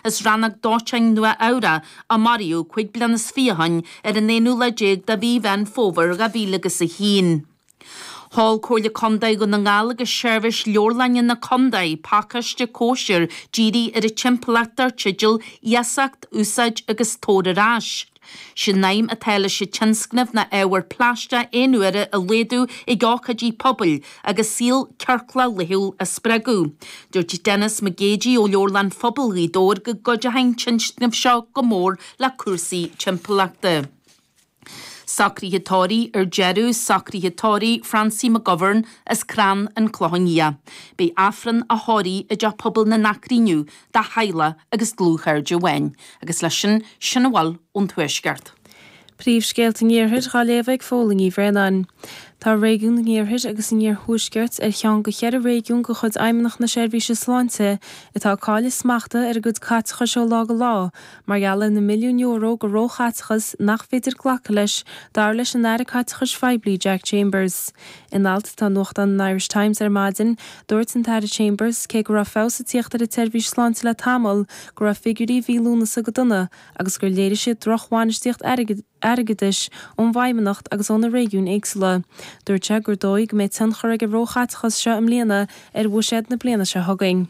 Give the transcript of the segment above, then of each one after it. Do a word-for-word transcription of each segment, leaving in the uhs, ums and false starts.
as Rannóg Dóiteáin Nua Eabhrac a maraíodh cúig bliana is fiche ó shin ar an aonú lá déag de mhí Mheán Fómhair dhá mhíle agus a haon. Sheol Comhairle Contae Dhún na nGall agus Seirbhís Leabharlainne na Contae pacáiste cóisir dírithe ar an timpeallacht dar teideal Iasacht, Úsáid agus Tabhair ar Ais. Sin aidhm atá leis an tionscnamh ná ábhar plaisteach aon uaire a laghdú ag ócáidí pobail agus saol ciorclach laethúil a spreagadh. Dúirt Denis McGeady ó Leabharlann Phobal Ghaoth Dobhair go gcuideoidh an tionscnamh seo go mór le cúrsaí timpeallachta. Socruithe tórraimh ar deireadh socruithe tórraimh Francie McGovern as Crann an Clochán Liath. Beidh Aifreann a thórraimh i dteach pobail na nAcraí inniu dá theaghlach agus dlúthchairde amháin, agus leis sin sin a bhfuil ón Tuaisceart. Príomhscéalta an Iarthair á léamh ag Fódhla Ní Bhraonáin. Tá réigiún an Iarthair agus an Iarthuaiscirt ar cheann de cheithre réigiún de chuid Fheidhmeannacht na Seirbhíse Sláinte atá ag cailleadh smachta ar a gcuid caiteachais ó lá go lá, mar gheall ar na milliúin euro de róchaiteachas nach féidir glacadh leis, dar leis an Aire Caiteachais Phoiblí Jack Chambers. In alt atá i nuachtán an Irish Times ar maidin, dúirt an tAire Chambers cé go raibh feabhas ag tíocht ar an tseirbhís sláinte le tamall, go raibh figiúirí mhí Lúnasa go dona agus gur léirigh siad drochbhainistíocht airgeadais ón bhFeidhmeannacht agus ó na réigiúin éagsúla. Dúirt sé gur dóigh go mbeidh tionchar ag an róchaiteachas seo i mbliana ar bhuiséad na bliana seo chugainn.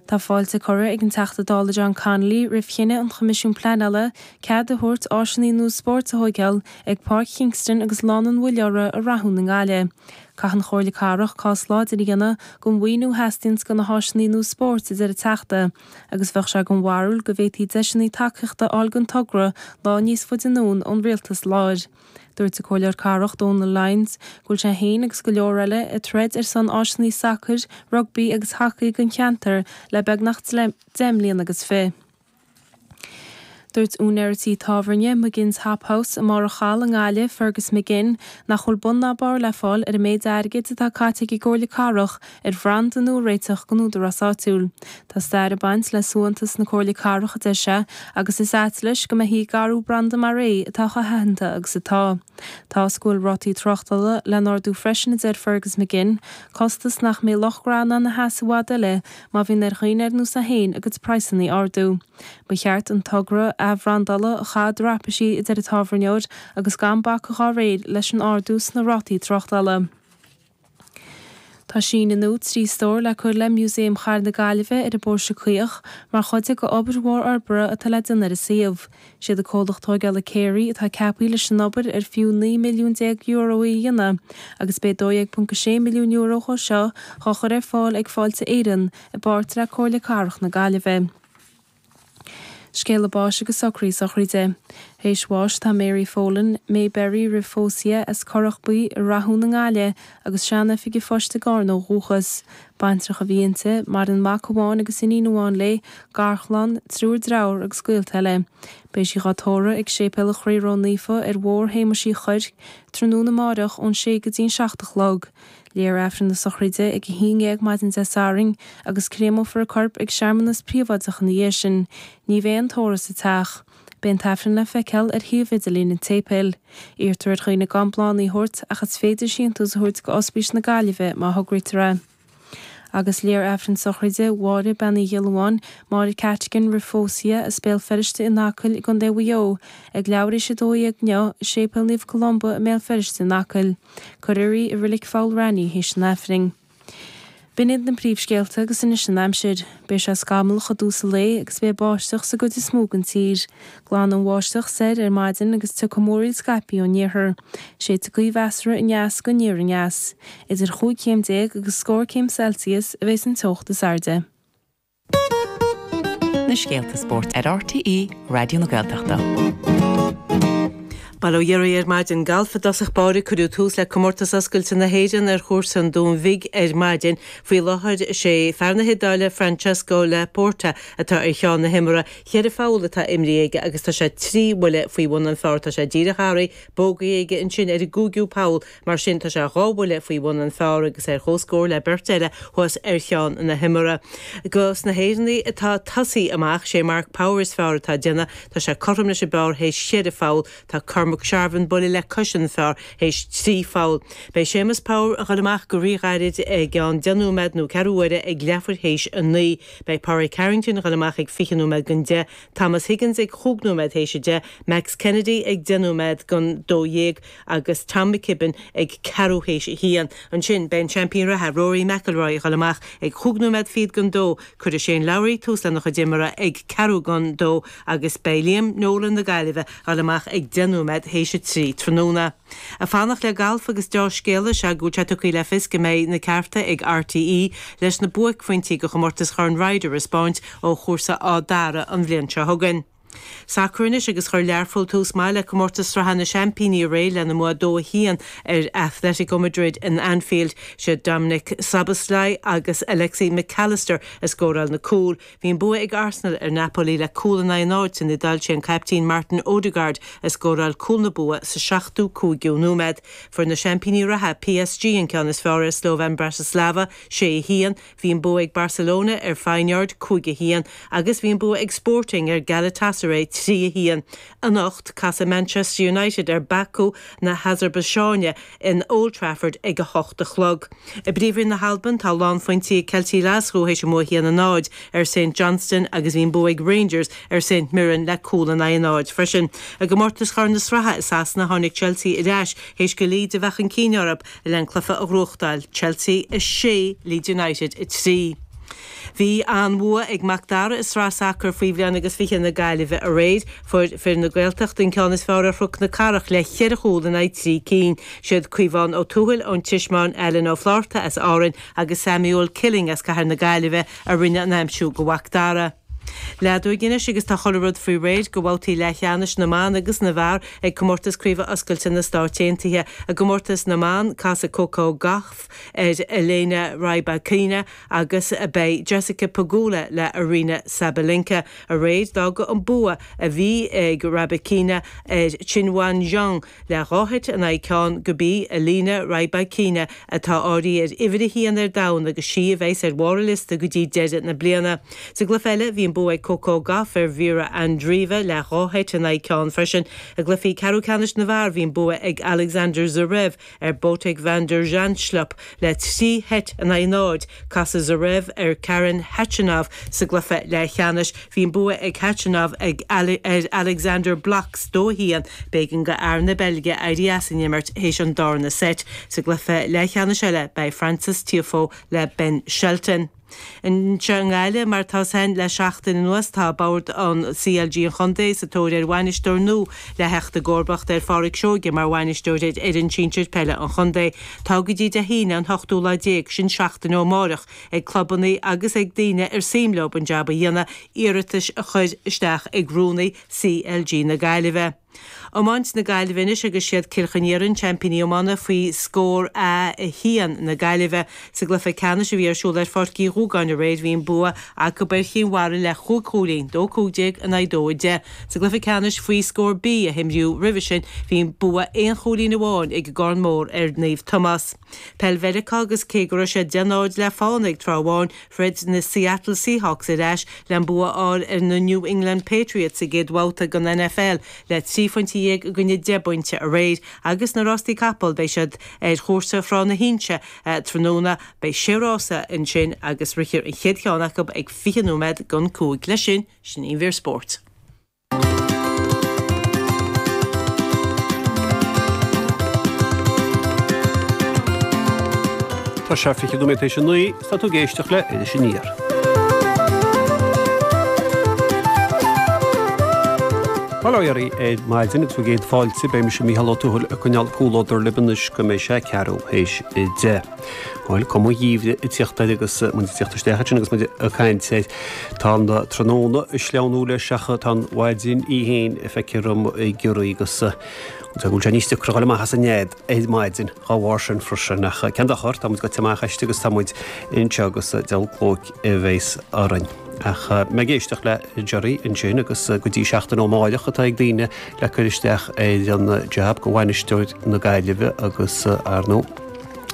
Tá fáilte curtha ag an Teachta Dála John Connolly roimh chinneadh an Choimisiúin Pleanála cead a thabhairt áiseanna nua spóirt a thógáil ag Páirc Kingston agus Lána an Mhuilleora i Rathún i nGaillimh. Caithfidh an Chomhairle Cathrach cás láidir a dhéanamh don mhaoiniú a theastaíonn do na háiseanna nua spóirt, a deir an Teachta, agus bheadh sé den bharúil go bhféadfaí deiseanna tacaíochta a fháil don togra lá níos faide anonn ón rialtas láir. Dúirt an Comhairleoir Cathrach Donal Lyons go bhfuil sé féin agus go leor eile ag troid ar son áiseanna sacair, rugbaí agus hacaí don cheantar le beagnach deich mbliana agus fiche. Dúirt úinéir tí tábhairne McGinn's Hop House i mBarr an Chalaidh i nGaillimh, Fergus McGinn, nach bhfuil bun ná barr le fáil ar an méid airgid atá caite ag an gComhairle Cathrach ar bhranda nua a réiteach don údarás áitiúil. Tá stair ag baint le suaitheantas na Comhairle Cathrach, a deir sé, agus is ait leis go mbeifí ag athrú branda mar é atá chomh haitheanta agus atá. Tá go bhfuil rátaí tráchtála le n-ardú freisin, a deir Fergus McGinn, costas nach mbeidh lucht gnó in ann a sheasamh i bhfad eile má bhíonn ar dhaoine ar nós é féin a gcuid praghsanna a ardú. Ba cheart an togra athbhrandála a chaitheamh traipisí, a deir an tábhairneoir, agus gan bacadh dá réir leis an ardú sna rátaí tráchtála. Tá síneadh nua trí stór le cur le Músaem Chathair na Gaillimhe ar an bPóirse Caoch mar chuid de obair mhór fhorbartha atá le déanamh ar an suíomh. Siad an comhlacht tógála Carey atá ceaptha leis an obair ar fiú naoi milliún déag euro í a dhéanamh agus beidh dó dhéag ponc sé milliún euro dhó seo á chur ar fáil ag Fáilte Éireann i bpáirt le Comhairle Cathrach na Gaillimhe. Scéala báis agus socruithe sochraide. Théis bháis tá Mary Folan, Mayberry roimh phósadh as Currach Buí i Rathún i nGaillimh agus sean-oifig an phoist i gCarna ó dhúchas. Baintreach a bhí inti, maireann mac amháin agus iníon amháin léi, garchlann, triúr dearthár agus gaolta eile. Beidh sí á tórramh ag Séipéal an Chroí Ró-Naofa ar Bhóthar Shéamuis Uí Chuirc, tráthnóna amárach ón sé go dtí an seacht a chlog. Léifear Aifreann na sochraide ag a haon déag maidin Dé Sathairn agus créamófar a corp ag searmanas príobháideach ina dhiaidh sin. Ní bheidh aon tórramh sa teach. Beidh an t-aifreann le feiceáil ar shuíomh idirlín an tséipéil. Iarrtar ar dhaoine gan bláthanna a thabhairt ach is féidir síntiús a thabhairt go Ospís na Gaillimhe má thograítear é. Agus léifear Aifreann sochraide Mháire Bean Uí Ghiolláin, Máire Cattigan roimh phósadh as Béal Feirste in Acaill i gContae Mhaigh Eo, ag leathuair tar éis a dó dhéag inniu i Séipéal Naomh Columba i mBéal Feirste in Acaill. Cuirfear í i Reilig Pholl Raithní théis an Aifrinn. B'in iad na príomhscéalta agus anois an aimsir. Beidh sé scamallach i dtús an lae agus beidh báisteach sa gcuid is mó den tír. Glanfaidh an bháisteach soir ar maidin agus tiocfaidh múraíl scaipthe ón iarthar. Séidfidh gaoth mheasartha aneas go aniar aneas. Idir chúig chéim déag agus scór céim Celsius a bheas an teocht is airde. Na scéalta spóirt ar R T E Raidió na Gaeltachta. Bail ó Dhia oraibh ar maidin. Galf i dtosach báire cuireadh tús le comórtas oscailte na hÉireann ar chúrsa an Dúin Bhig ar maidin. Faoi láthair sé fear na hIodáile Francesco Laporta atá ar cheann na himeartha. Ceithre pholl atá imrithe aige agus tá sé trí bhuille faoi bhun an phar tá sé díreach thar bogey aige ansin ar an gcúigiú poll mar sin tá sé dhá bhuille faoi bhun an phar agus ar chomhscór le beirt eile thuas ar cheann na himeartha. Dos na hÉireannaigh atá tosaithe amach sé Mark Power is fearr atá déanamh tá sé cothrom leis an bpar théis ceithre pholl tá McSharvin buille le cois an fear théis trí pholl. Beidh Séamus Power a dhul amach go ríghairid ag an deich nóiméad nó ceathrú uaire ag leathuair théis a naoi. Beidh Pádraig Harrington a dhul amach ag fiche nóiméad don deich, Thomas Higgins ag chúig nóiméad théis a deich, Max Kennedy ag deich nóiméad don dó dhéag agus Tom McKibbin ag ceathrú théis a haon. Ansin beidh an seaimpín reatha Rory McIlroy a dhul amach ag chúig nóiméad fichead don dó. Cuirfidh Shane Lowry tús lena chuid imeartha ag ceathrú don dó agus beidh Liam Nolan na Gaillimhe a dhul amach ag deich nóiméad théis a trí tráthnóna. Ag fanacht le galf agus deá-scéala is ea go bhfuil sé tugtha le fios go mbeidh na cearta ag RTÉ leis na buaicphointí de chomórtas Chorn Ryder a 'spáint ó chúrsa Áth Dara an bhliain seo chugainn. Sacar anois agus chuir Learpholl tús maith le comórtas Sraithe na Seaimpíní aréir lena mbua dó a haon ar Atletico Madrid in Anfield. Siad Dominik Szoboszlai agus Alexis Mac Allister a scóráil na cúil. Bhí an bua ag Arsenal ar Napoli le cúl in aghaidh a náid san Iodáil. Sé an caiptín Martin Odegaard a scóráil cúl na bua sa seachtú cúigiú nóiméad. Fuair na seaimpíní reatha PSG an ceann is fearr ar Slovan Bratislava, sé a haon. Bhí an bua ag Barcelona ar Feyenoord, cúig a haon, agus bhí an bua ag Sporting ar Galatasaray, trí a haon. Anocht, casfaidh Manchester United ar Baku na hAsarbaiseáine in Old Trafford ag a hocht a chlog. I bPríomhroinn na hAlban, tá lánphointí ag Ceiltigh Ghlaschú théis a mbua a haon a náid ar St Johnstone agus bhí an bua ag Rangers ar St Mirren le cúl in aghaidh a náid freisin. I gcomórtas Chorn na Sraithe i Sasana, tháinig Chelsea ar ais théis go Leeds a bheith chun cinn orthu le an cluiche a ghnóthachtáil, Chelsea a sé, Leeds United a trí. Bhí an-bhua ag Mac Dara i Sraith Sacair faoi bhliain agus fiche na Gaillimhe aréir. Fuair fir na Gaeltachta an ceann is fearr ar Chnoc na Cathrach le cheithre chúl in aghaidh trí cinn. Siad Caomhán Ó Tuathail ón Tismeáin, Alan Ó Flátharta as Árainn agus Samuel Killing as Cathair na Gaillimhe a rinne an aimsiú go Mhac Dara. Leadóg anois agus tá chuile rud faoi réir go bhabhtaí leathcheannais na mban agus na bhfear ag Comórtas Craoibhe Oscailte na Stáit Aontaithe. I gcomórtas na mban, casfaidh Coco Gauff ar Elena Rybakina agus beidh Jessica Pegula le Aryna Sabalenka. Aréir d'fhág an bua a bhí ag Rybakina ar Qinwen Zheng le dhá sheit in aghaidh ceann gurb í Elena Rybakina atá áirithe ar uimhir a haon ar domhan agus sí a bheas ar bharr an liosta go dtí deireadh na bliana. Sa gcluiche eile bhí an bua ag Coco Gauff ar Mhira Andreeva le dhá sheit in aghaidh ceann freisin. I gcluichí ceathrú ceannais na bhfear bhí an bua ag Alexander Zverev ar Botic van der Zandschulp le trí sheit in aghaidh náid. Casfaidh Zverev ar Karen Khachanov sa gcluiche leathcheannais. Bhí an bua ag Khachanov ag ar Alexander Blockx dó a haon. B'éigean go fhear na Beilge éirí as an imirt théis an darna seit. Sa gcluiche leathcheannais eile beidh Frances Tiafoe le Ben Shelton. Anseo i nGaillimh, mar atá féin le seachtain anuas, tá Bord an CLG an Chontae sa tóir ar bhainisteoir nua le theacht i gcomharbacht ar Pháraic Seoige mar bhainisteoir ar fhoireann sinsir peile an chontae. Tá go dtí Dé hAoine an t-ochtú lá déag, sin seachtain ó amárach, ag clubanna agus ag daoine ar suim leo an jab a dhéanamh, iarratais a chur isteach ag Rúnaí CLG na Gaillimhe. Iomáint na Gaillimhe anois agus siad Cill Chainnigh Iarann seaimpíní iomána faoi scór A a haon na Gaillimhe. Sa gcluiche ceannais a bhí ar siúl ar Pháirc Uí Dhúgáin aréir bhí an bua acu ar Chinn Mhara le chúig chúilín, dó cúig déag in aghaidh dó a deich. Sa gcluiche ceannais faoi scór B a himríodh roimhe sin bhí an bua aon chúilín amháin ag an gCarn Mór ar Naomh Tomás. Peil Mheiriceá agus cé go raibh sé deich náid le fána ag tráth amháin, throid na Seattle Seahawks ar ais le an bua a fháil ar na New England Patriots sa gcéad bhabhta den NFL le trí phointe dhéag i gcoinne deich bpointe aréir. Agus na rástaí capall, beidh siad ar chúrsa Thrá na hInse tráthnóna. Beidh sé rása ansin agus rithfear an chéad cheann acu ag fiche nóiméad don cúig. Leis sin, sin í an mhír spóirt. Tá sé fiche nóiméad théis a naoi, is tá tú ag éisteacht le Iris Aniar. Bail ó Dhia oraibh ar maidin agus bhur gcéad fáilte, beidh mise Mícheál Ó Tuathail ag coinneáil comhluadar libh anois go mbeidh sé ceathrú théis a deich. Bhuel, cuma an gheimhridh ag tíocht air agus muid ag tíocht isteach ansin agus muid ag caint air. Tá an tráthnóna ag sleamhnú leis ach tá an mhaidin í féin feicthe orm ag giorraí agus go bhfuil sé níos deacra dhul amach as an nead ar maidin dá bharr sin freisin. Ach cén dochar, tá muid gaibhte amach aisti agus tá muid anseo agus deabhal clóic a bheas orainn. Ach mé ag éisteacht le Gerry ansin agus go dtí seachtain ó amárach atá ag daoine le cur isteach ar an jab go bhainisteoir na Gaillimhe agus ar ndóigh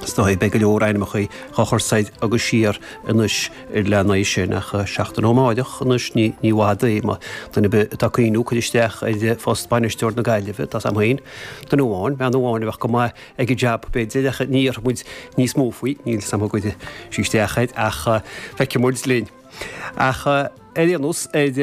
Is dóigh beidh go leor ainmneacha dhá chur soir agus siar anois lena aghaidh sin ach seachtain ó amáireach anois ní ní i bhfad é má duine ar bith atá ag cuimhniú cur isteach ar phost bainisteoir na Gaillimhe tá 's a'm féin duine amháin bean amháin a bheadh go maith ag an jab b'fhéidir ach ní dhéarfaidh muid níos mó faoi níl 's a'm an gcuirfidh sí isteach air ach feicfidh muid linn. Ach ar aon nós ar